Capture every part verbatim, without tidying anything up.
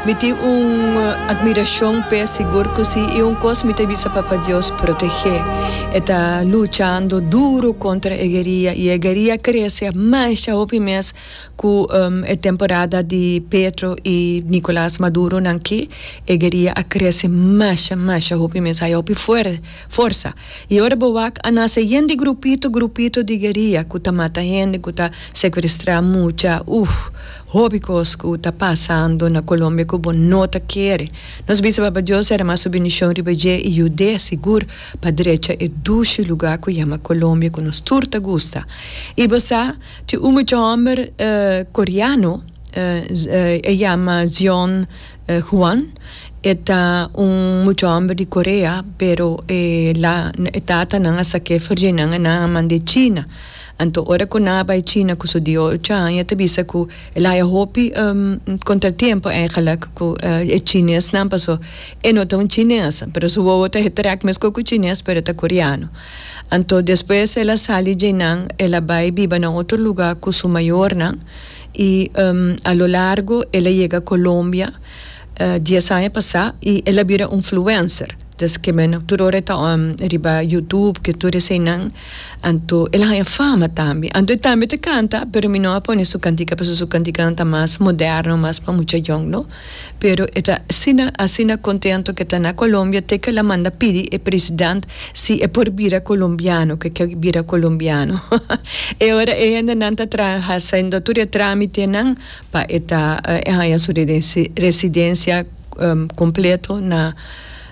Mi tin un admiracion p'e, sigur cu si, y un cos mi ta bisa: Papa Dios protege. E ta luchando duro contra e guerrilla y e guerrilla a crece mas hopi mes cu um, e temporada di Petro y Nicolás Maduro nan ki e guerrilla a crece mas mas hopi mes ay hopi fuer, forsa. Y ora bo wak a nace yen di grupito grupito di guerrilla cu ta mata hende, cu ta secuestra mucha, uf, hopi cos cu ta pasando na Colombia cu bo no ta kere. Nos bisa Papa Dios drama su bendicion riba dje y yude sigur pa drecha e dushi lugar cu yama Colombia, cu nos tur ta gusta. Y bo sa, tin un mucha homber uh, coreano, uh, uh, yama Zion uh, Juan, e ta un mucha homber di Corea, pero eh, la tata nan a sake for di nan nan a mande China. Anto ora cu nan a bay China cu su diesocho aña, ta bisa cu el a haya hopi um, contratiempo eigenlijk cu uh, e Chines nan, paso e no ta un Chines, pero su wowo ta trek mes cu Chines, pero ta coreano. Anto despues el a sali di nan, el a bay biba na otro lugar cu su mayornan y um, a lo largo el a yega Colombia uh, dies aña pasa y el a bira un influencer. Dus kiermen tur ora ta um, riba YouTube cu tur eseynan, anto el a haya fama tambe. Anto tambe ta canta, pero mi no a pone su cantica, paso su cantica ta mas moderno, mas pa mucha jong, no? Pero e ta asina asina contento cu ta na Colombia, te cu el a manda pidi e presidente si e por bira colombiano, cu kier bira colombiano. E ora e ainda nan ta haciendo tur e tramitenan pa e ta uh, su residencia um, completo na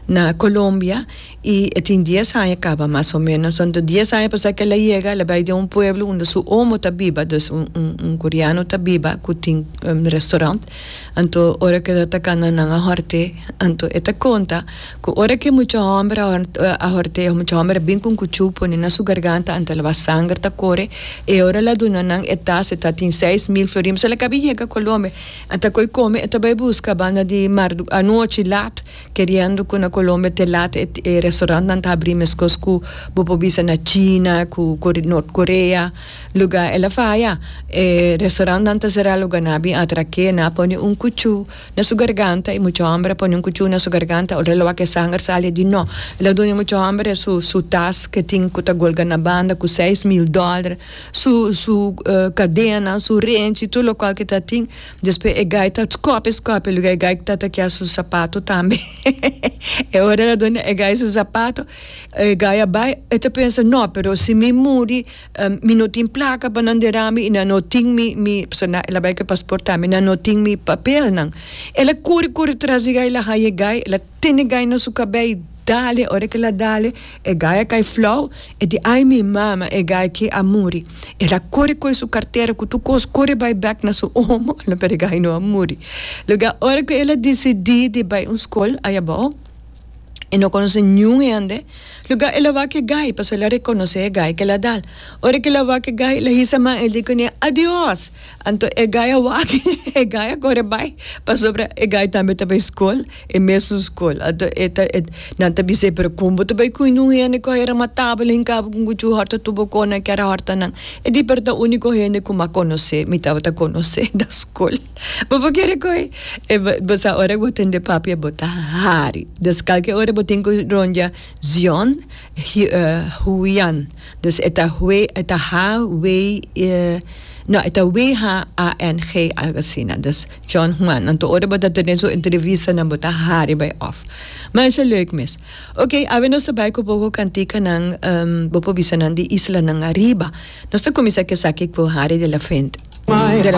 na Colombia y tin dies aña caba mas o menos. Anto dies aña pasa cu el a yega, el a bay di un pueblo unda su omo ta biba, dus un, un, un coreano ta biba, cu tin un restaurant. Anto ora cu e ta cana nan a horte, anto e ta conta cu ora cu mucha homber a horte, mucha homber bin cu cuchu pone na su garganta, anto el a sanger ta core, y ora el a duna nan e tas, ta tin seis mil florin, el a caba yega Colombia, anto coy come, e ta bay busca banda di mar anochi laat, keriendo cu na Colombia te laat e, e restaurant nan ta habri mescos cu bo por bisa na China, cu North Korea, lugar el a faya. E restaurant nan ta sera, lugar nan a bin atrake, nan a pone un cuchu na su garganta y mucha homber pone un cuchu na su garganta, ora el a wak sanger sali di no. El a duna mucha homber su su tas cu tin cu ta golga na banda cu seis mil dollar, su su uh, cadena, su renchi, tur loke cu ta tin. Despues e guy ta scope scope, lugar e guy ta ta kier su sapato tambe. E ora el a duna e guy su sapato, e guy a bay, e ta pensa: "No, pero si mi muri, um, mi no tin placa pa nan dera mi y nan no tin mi mi so na el a bay cu paspoort tambe, nan no tin mi papelnan." El a core core tras di guy, el a haya guy, el a tene guy na su cabey, dale, ora cu el a dale, e guy a cay flauw, e di: "Ai mi mama, e guy aki a muri." El a core cu su cartera, cu tur cos, core bay back na su omo, no, pero e guy no a muri. Lugar, ora cu el a dicidi di bay un scol, ey abou, e no conoce ningun hende. Lugar el a wak e guy, paso el a reconoce e guy cu el a dal. Ora cu el a wak e guy, el a hisa man, el di cune: "Adios." Anto e guy a wak, e guy a core bay, pasobra e guy tambe ta bay scol, e mesun scol. Anto e ta e nan ta bis'e: "Pero con bo ta bay cu un hende cu a mata bo, hinca bo cu cuchu, horta tur bo cosnan, kier horta nan?" E di: "Pero ta unico hende cu m'a conoce, mi tabata conoce na scol." Bo por kere coy? E bo sa ora bo tende papia, bo ta hari. Dus kalke ora bo tin cu rondia Zion Huian. Dus e ta Hui, e ta H W no, e ta W H A N G, algo asina. Dus John Juan. Anto ora bo ta tene su entrevista nan, bo ta hari bay off. Maar is leuk mes. Oké, okay, awe nos ta bay cu poco canticanan um, bo por bisa nan di islanan ariba. Nos ta cuminsa cu esaki cu Harry de la Fuente. De la